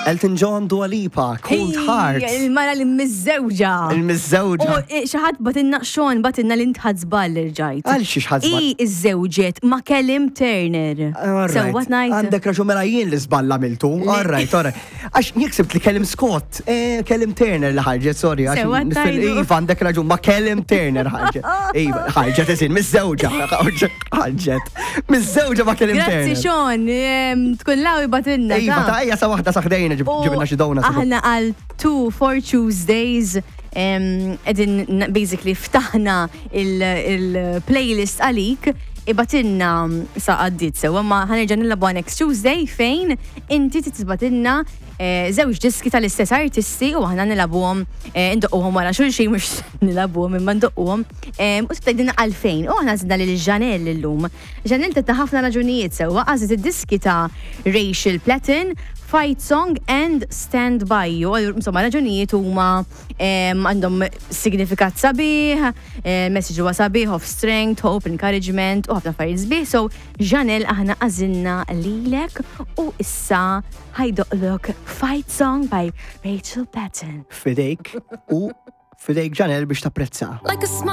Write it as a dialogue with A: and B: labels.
A: Elton John, Dua Lipa, Cold Heart.
B: Il-mara li miżżewġa.
A: Il-miżżewġa.
B: U eh, xi ħadd batinna Sean batinna li ntħad żball irġajt.
A: Għal xi xħad żball?
B: I iżżewġet ma' Kellim Turner. Sewwa ngħid.
A: Għandek raġun mela jien li żball għamiltu. All right, all right. Għax jiksibt li Kellim Scott, eh, Kellim Turner li ħarġet, sorry. għax
B: Sewwa
A: fil-
B: tajdu.
A: Iva, għandek raġun, ma Kellim Turner ħarġet. Iva, ħarġet eżin, miż-żewġa. Ħarġet. Miż-żewġa ma Kellim
B: Grazzi
A: Turner.
B: Sean, em, tkun law ibatinna.
A: Iva, ta' ejja sa waħda sa ħdejna
B: U
A: ġibna xi donuts.
B: Aħna għal 2 for Tuesdays edin basically ftaħna il-playlist għalik ibatinna sa għaddit sewa ma ħanerġa' nilagħbu next Tuesday fejn inti titbatinna eh, żewġ diski tal-istess artisti u aħna nilagħbuhom eh, ndoqquhom wara xulxin mhux nilagħbuhom imma ndoqquhom u tgħidilna għalfejn. U aħna żidna lil Janelle illum. Janelle tetta ħafna raġunijiet sewwa għażlet id-diski ta' Rachel Platten, Fight Song and Stand By You. Insomma, raġunijiet huma għandhom signifikat sabiħ, eh, message huwa sabiħ of strength, hope, encouragement u ħafna affarijiet sbieħ. So, Janelle aħna għażilna lilek u issa ħajdoqlok Fight Song by Rachel Patton.
A: Fidejk u fidejk Janelle biex tapprezza.
C: Like a smile.